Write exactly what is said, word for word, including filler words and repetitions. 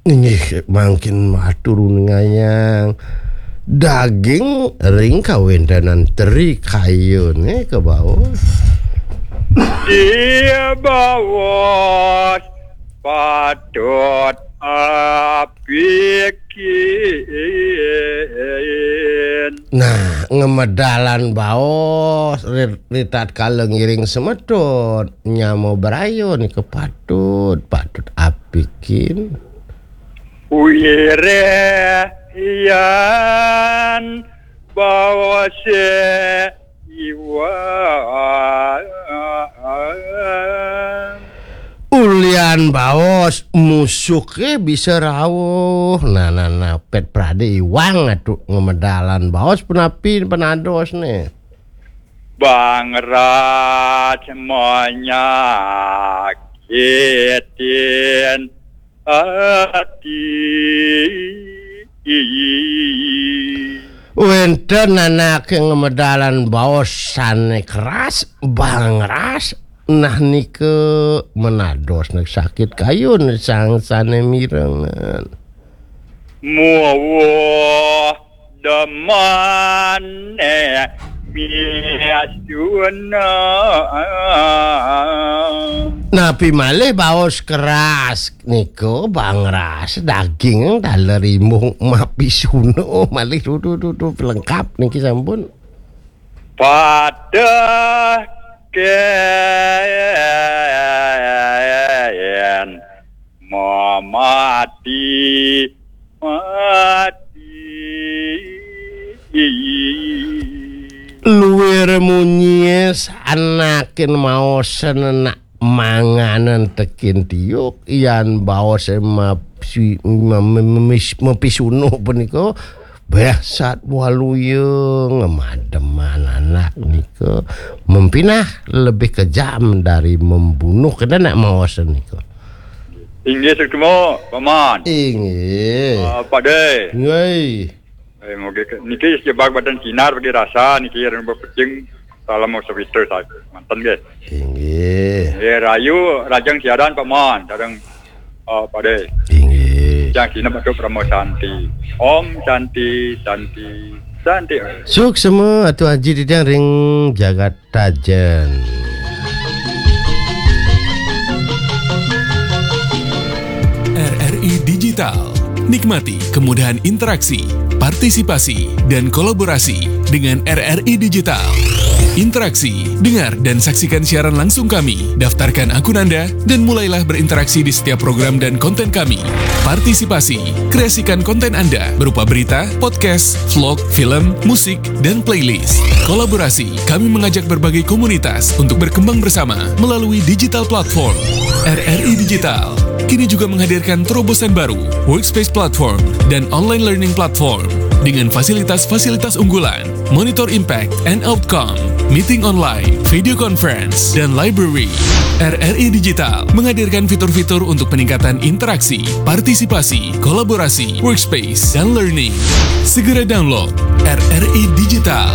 Inggih, mangkin matur ngayang daging ring kawéntenan teri kayuné ka baos. Dia baos patut apikin. Nah, ngamedalan baos ri-, ritatkala ngiring semeton nyama braya nika patut, patut apikin. Wireh yan baose iwang. Ulian baos musuke bisa rauh. Nah, nah, nah, pet prade iwang atu ngamedalan baos punapi penadosne. Bangrat menyakitin ati. Wénten anake ngamedalan baos sane keras, bangras, nah nika menados nek sakit kayun sang sane mirengan. Muwuh demane miasuna. Napi malih baos keras nika bangras daging taler rimbung mapisuna malih dudu dudu lengkap niki sampun. Pada ken mamati mati. Luwir munyi sanakin maosen nak manganen tekin tiuk, yan baose mapsi-, mem-, mem-, mem-, mepisunuh punika, beh sat waluya ngemademan anak nika mempinah lebih kejam dari membunuh kena nak maosen nika. Inggih, suksma, Paman. Inggih. Ah, Pak De. Nggih. Eh, moga ke-, niki jebak badan sinar bagi rasa niki ring bepejing salam sewiter saja. Manten nggih. Inggih. Nggih, rayu rajang siaran Paman, sareng, eh, Pak De. Inggih. Jang sinep atu Parama Santi. Om Santi, Santi, Santi. Suksma Atu Aji Didang ring jagat Tajen. R R I Digital. Nikmati kemudahan interaksi, partisipasi, dan kolaborasi dengan R R I Digital. Interaksi, dengar dan saksikan siaran langsung kami, daftarkan akun Anda, dan mulailah berinteraksi di setiap program dan konten kami. Partisipasi, kreasikan konten Anda berupa berita, podcast, vlog, film, musik, dan playlist. Kolaborasi, kami mengajak berbagai komunitas untuk berkembang bersama melalui digital platform. R R I Digital kini juga menghadirkan terobosan baru, Workspace Platform dan Online Learning Platform, dengan fasilitas-fasilitas unggulan, monitor impact and outcome, meeting online, video conference, dan library. R R I Digital menghadirkan fitur-fitur untuk peningkatan interaksi, partisipasi, kolaborasi, workspace, dan learning. Segera download R R I Digital.